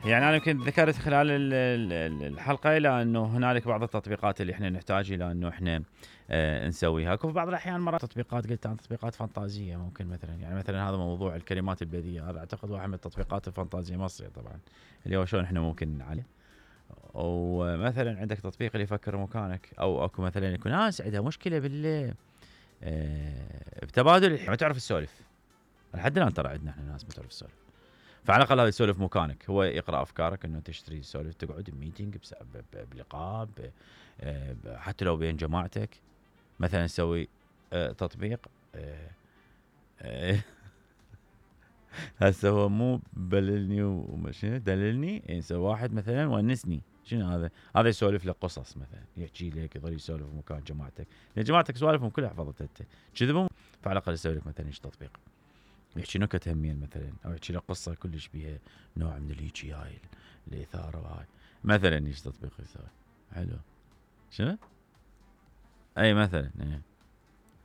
يعني أنا يمكن ذكرت خلال الحلقة إلى أنه هنالك بعض التطبيقات اللي إحنا نحتاج إلى أنه إحنا نسويها. في بعض الأحيان مرات تطبيقات قلت عن تطبيقات فانتازية ممكن مثلا، يعني مثلا هذا موضوع الكلمات البذيئة، هذا أعتقد واحد من التطبيقات الفانتازية مصري طبعا، اللي هو شلون إحنا ممكن نعلم. ومثلا عندك تطبيق اللي يفكر مكانك، أو أكو مثلا يكون ناس عندها مشكلة بتبادل، ما تعرف السولف. لحد الآن ترى عندنا إحنا ناس ما تعرف السولف، فعلى الأقل هذا يسولف مكانك، هو يقرأ أفكارك إنه تشتري سولف، تقعد بميتينج بلقاء حتى لو بين جماعتك. مثلا نسوي تطبيق هسه هو مو بللني ومشي دللني، نسوي واحد مثلا ونسني. شنو هذا يسولف لك قصص مثلا، يحكي لك، يظل يسولف مكان جماعتك، لان جماعتك سوالفهم كلها حفظتها انت كذبهم، فعلى الأقل يسوي لك مثلا تطبيق يحكي نكت همين مثلا، او يحكي لك قصه كلش بيها نوع من الهيجي هاي الاثاره وهاي مثلا. ايش تطبيق يسوي حلو؟ شنو؟ اي مثلا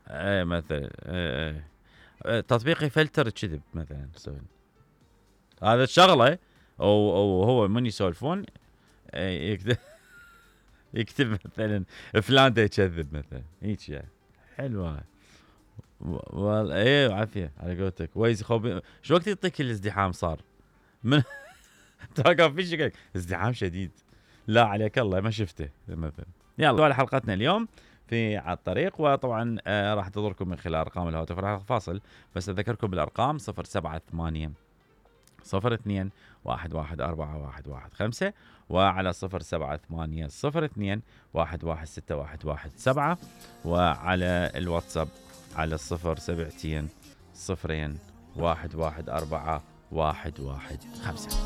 اي مثلا تطبيق يفلتر الكذب مثلا يسوي هذا الشغله، او هو من يسولفون يكتب مثلا فلان دا يكذب مثلا، هيك يعني حلوه. والله ايه عافيه على قولتك. ويز خوبي شو وقت يعطيك الازدحام صار من تلقى في شكل ازدحام شديد، لا عليك الله ما شفته مثلا. يلا على حلقتنا اليوم في على الطريق، وطبعا راح تضركم من خلال ارقام الهاتف. راح فاصل بس اذكركم بالارقام 078 02 114115 وعلى 078 02 116117 وعلى الواتساب على 072 0114 115.